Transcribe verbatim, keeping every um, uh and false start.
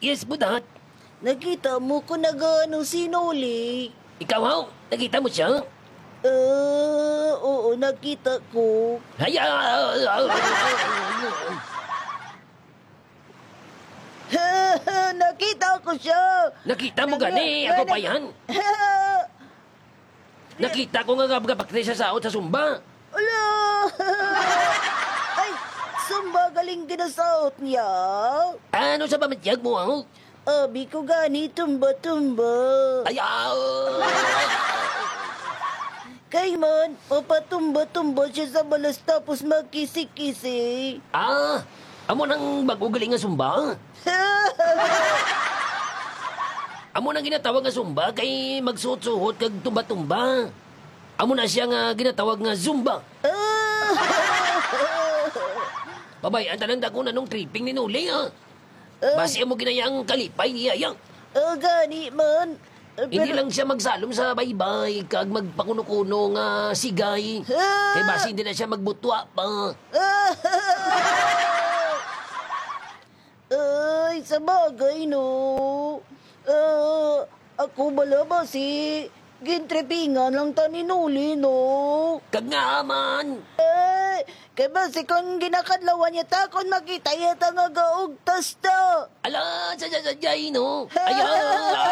Yes, Budat. Nakita mo ko nag-ano si Noli? Ikaw, haw? Nakita mo siya? Ah, oo, nakita ko. Ay, ah, ah, ah, ah, ah. Nakita ko siya. Nakita mo Nag- gani, ako nag- pa yan? Nakita ko nga, nga, nga bakti sa saot sa sumba. Ala! Ay, sumba galing ginasaot niya. Ano sa pamatyag mo, ang? Abi ko gani, tumba-tumba. Ay, ah! Kay man, mapatumba-tumba siya sa balas tapos magkisi-kisi. Ah, amo nang bago galing nga sumba? Amo nang ginatawag nga sumba kay magsuhot-suhot kag tumba-tumba. Amo na siya nga ginatawag nga zumba. Pabay-an ta lang dako na nung tripping ni Noli, ha? Basi amo ginaya ang kalipay niya, ya. Ah, gani man. Ah, Hindi pero lang siya magsalom sa baybay kag magpakuno-kuno nga sigay. Ah! Kay basi hindi na siya magbutwa pa. Ay, sa bagay, no? Ah, ako bala ba si gintripingan lang ta ni Noli, no? Kag nga man. Eh, kay basi kung ginakadlawan niya ta, kung makita niya ta nga gaugtas ta. Ala, sa, sa, sa, jay, no? Ayaw!